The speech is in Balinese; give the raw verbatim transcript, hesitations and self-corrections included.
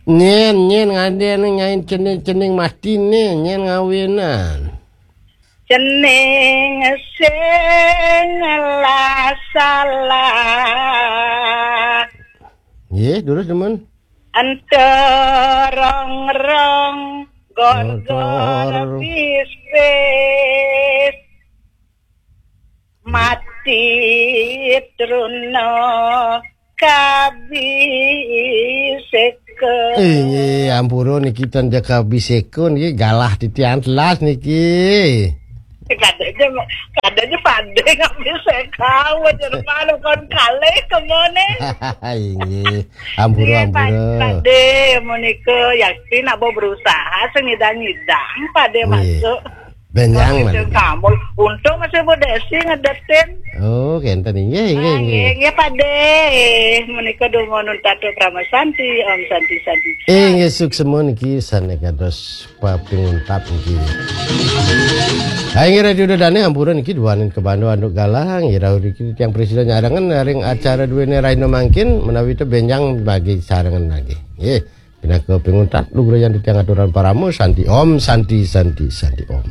Nyen, nyen ngadene nyain cening-cening matine, nyen ngawenan. Cening sing lah salah. Nggih, terus demen. Enterong-rong gorgor Gorgor. Bis-bis. Mati truna kabiseka. Eh, ampura niki ten jaka biseka niki galah titian telas niki. Kadene, kadene pade ngabiseka, wajar malu kon kalih kemone. Inggih, ampura, Nggih, ampura. Pade menika yakti nak berusaha sing nyidang-nyidang pade Nggih. Masuk. Benjang Masuk malih. Kamu. Untung masih Bu Desi ngedetin. Oh, kenten inggih, inggih, Ah, inggih. Inggih, pade. Menika dungo nun tatu krama santi, om santi, santi. Inggih, suksema niki sane kados papinguntat niki. Ha, inggih, Radio Dadane ampura niki duaning kebando anduk galang, nggih, rawuh niki tiang presida nyarengan ring acara duene raina mangkin menawi te benjang bagi sarengan lagi. Nggih, pinaka pinguntat lugrayan titiang aturan parama santi om, santi, santi, santi om.